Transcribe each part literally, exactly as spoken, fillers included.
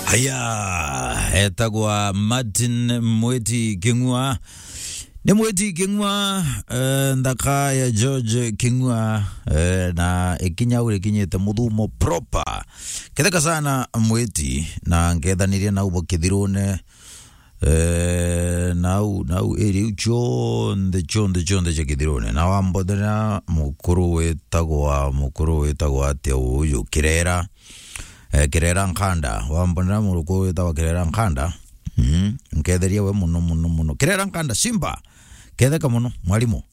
Aya, etagwa Martin Mwiti King'ua. Ni Mwiti King'ua, eh, nthaka ya George King'ua, eh, na ikinya uri kinyite muthumo proper. Ketheka sana Mwiti, na nkethanirie nau bo Kithirune, eh, nau, nau area iu cionthe, cionthe, cionthe cia Kithirune. Na wambothera mukuru witagwa, mukuru witagwa atia uyu? Kirera. Eh, Kirera Nkanda, wambonera murukuru witagwa Kirera Nkanda. Mm, nketheria we muno, muno, muno. Kirera Nkanda, Simba. Ketheka muno, mwarimu.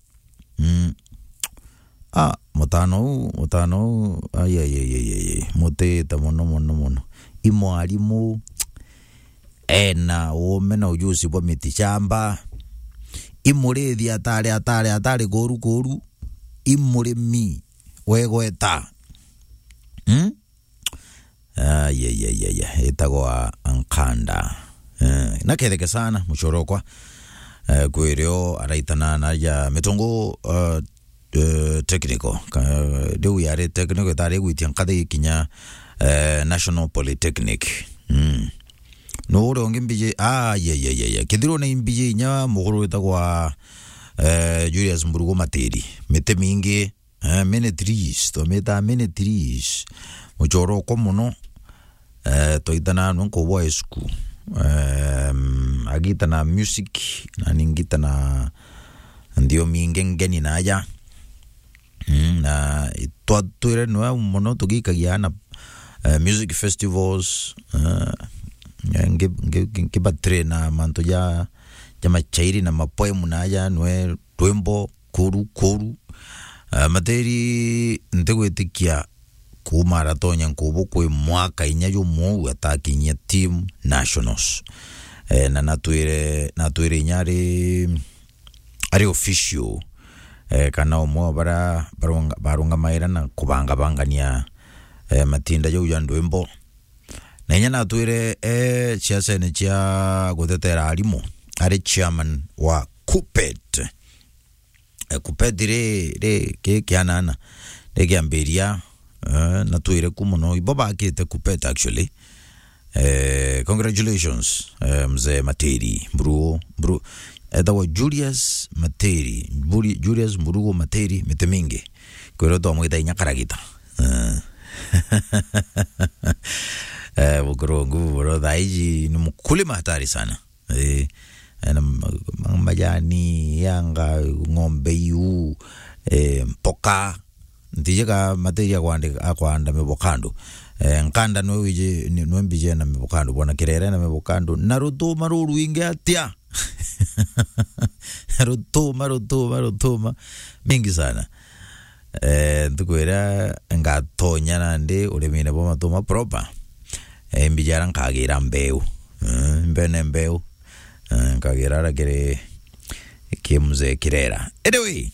Mm. Ah, mutano uu, mutano uu, ai, ai, ai, ai, ai, ai. Mutita muno, muno, muno. I mwarimu, ena uume na ujuzi bwa miti shamba. I murithi atari, atari, atari kuru, kuru. I murimi wegweta. Mm? Ai, ai, ai, ai, ai, itagwa Nkanda. Eh, na ketheke sana, muchorokwa. Eh, kwirio araitana na ja mitungu, eh, eh, technical. Ka-, riu yari technical, itari gwitia nkathi ikinya, eh, National Polytechnic. Mm. No uri ungi mbiji, ai, ai, ai, ai, ai. Kithirune imbiji inya muguru witagwa, eh, Julius Mburugu Matiri. Miti mingi, Eh, mini trees, twamita mini trees. Muchoro uko muno. Eh, twaitana nwe nkubwa school. Em, agitana music, na ningitana nthiomi ingi ngeni na aja. Mm, na twatwire nwe muno tugikagia na, eh, music festivals, eh, ngi-, ngi-, ngi-, ngibatrain na mantu ja, ja machairi na mapoem na aja nwe rwimbo kuru, kuru. Ah, Matiri ntigwitikia kuuma aratonya nkubu kwi mwaka inya jumwe uu atakinyia team nationals. Eh, na natwire, natwire inya ari, ari official, eh, kana umwe wa bara barunga-, barungamaira na kubangabangania, eh, matinda jau ja ndwimbo. Na inya natwire, eh, ciacene cia gutetera arimu, ari chairman wa KUPPET. Eh, KUPPET ri, ri, ki kianana, ri kiambiria, eh, na twire ku muno. Ibo bakite KUPPET actually. Eh, congratulations, eh, mzee Matiri, Mburu, Mburu, etagwa Julius Matiri, Mburi-, Julius Mburugu Matiri, miti mingi. Kwirwo twamwita inya karagita. Eh. Eh, mukuru wa nguvu, bro, thaa iji ni mkulima hatari sana. Eh, ena ma-, ma-, majani, yanga, ng'ombe iu, eh, mpoka. Ntiji ka Matiri akwandi-, akwanda mivokando. Eh, Nkanda nwe wiji, ni-, nwe mbiji ena mivokando. Bwana Kirere ena mivokando. Na rutuma rurwingi atia? Rutuma, rutuma, rutuma. Mingi sana. Eh, ntuku iria ngatonya nandi urimine bwa matuma proper, eh, mbijara nkagira mbeu. Eh, mbene mbeu. Eh, nkagira ara kiri ki mzee Kirera. Anyway,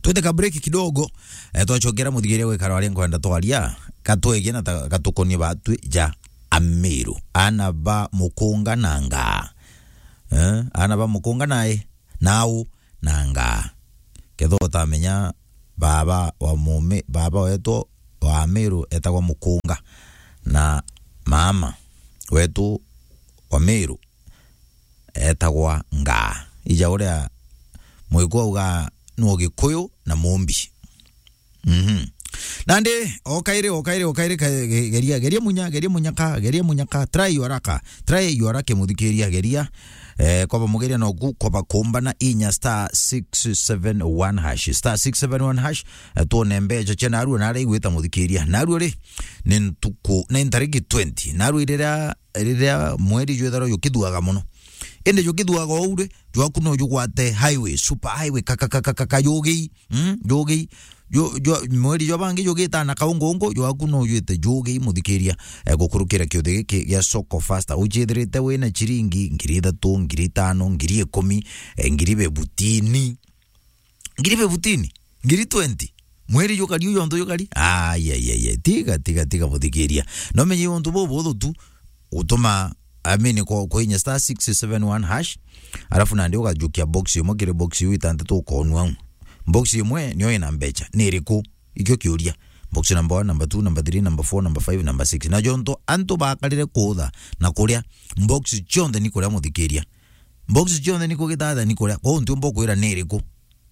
twite ka break kidogo, eh, twachokera muthigiria gwikara aria nkwenda twaria, katwegie na ta-, gatukonie batwi ja Amiru. Ana ba mukunga na ngaa. Eh, ana ba mukunga nae. Nau na ngaa. Ketho utamenya baba wa mume, baba wetu wa Miru etagwa Mukunga, na mama wetu wa Miru etagwa Ngaa. Ija uria Mwiku auga nu Gikuyu na Mumbi. Mhm. Nandi, o kairi, o kairi, o kairi, ka-, ge-, geria, geria munya, geria munyaka, geria munyaka, try your luck, try your luck, muthikiria, geria. Eh, kwaba mugeria noku, kwaba kumbana inya star six seven one hash, star six seven one hash, eh, tuone mbecha cia narua, nari gwita muthikiria. Narua ri, ni ntuku, ni ntariki twenty. Narua riria, riria mweri jwethagirwa jukithuaga muno. Indi jukithuaga uu ri, jwaku no jugwate highway, super highway, ka, ka, ka, ka, ka, ka, jugi. Mm, jugi. Ju-, ju-, mweri jwa bangi jugitana kaungungu, jwaku no jwite jugi, muthikiria, eh, gukurukira kiuthi giki gia Soko Fasta. Ujithirite wina chiringi ngiri ithatu, ngiri itano, ngiri ikumi, eh, ngiri bebutini. Ngiri bebutini? Ngiri twenty? Mweri jukari, uyu untu jukari? Ai, ai, ai, ai. Tiga, tiga, tiga, muthikiria. No menye untu bubu buthu tu, utuma, I mean, kwa, kwa inya star six seven one hash, alafu nandi ukajukia box imwe kiri box iu itantatu ukonua. Box imwe niyo ina mbecha. Ni iriku? Ikio kiuria. Box number one, number two, number three, number four, number five, number six. Na jonto antu bakarire kuutha na kuria, box cionthe ni kuria, muthikiria. Box cionthe ni kugithatha ni kuria. Kwou ntiumba kwira ni iriku.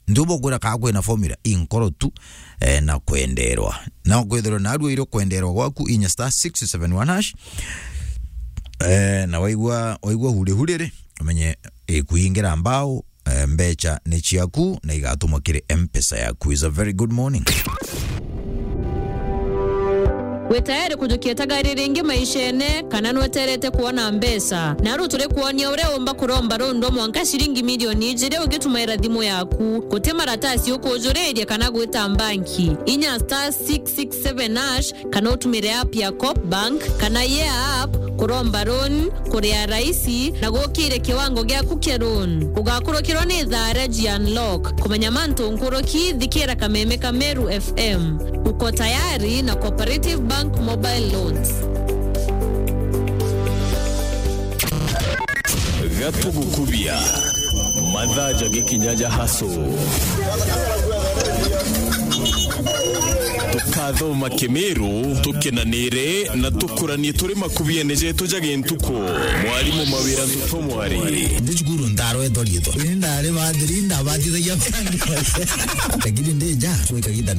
Ntiumba kwira kaa kwina formula. Inkoro tu, eh, na kwenderwa. Na kwithirwa narua iro kwenderwa gwaku, inya star six seven one hash. Eh, na waigua, waigua hurihuri ri, umenye ikuingira mbao, eh, mbeca ni ciaku na igatumwa kiri M-Pesa yaku. Is a very good morning. Wi tayari kujukia itagari ringi maishene, kana nweterete kwona mbeca? Naru turi kwonia uria umba kuromba rundu mwanka ciringi milioni ijiri ugitumaira thimu yaku. Guti maratasi ukujuriria kana gwita mbanki. Inya star six six seven hash, kana utumire app ya Coop Bank kana Yeah App kuromba loan, kuria raisi na gukire kiwango giaku kia loan. Ugakurukirwa ni thaa ria G Unlock. Kumenya mantu nkuruki, thikira kameme ka Meru F M. Uko tayari na Cooperative Bank Mobile Loans. Gatugukubia. Mathaa jagikinya ja hustle. Tukathoma Kimiru, tukenanire na tukuranie turi makubiene jetu ja gintuku. Mwarimu Mawira Ntuto Mwari. Ndi cukuru ndarwetwa riitwa. Ni ndari bathiri, ndabathithagia. Lakini ndi nja, kwi kagiita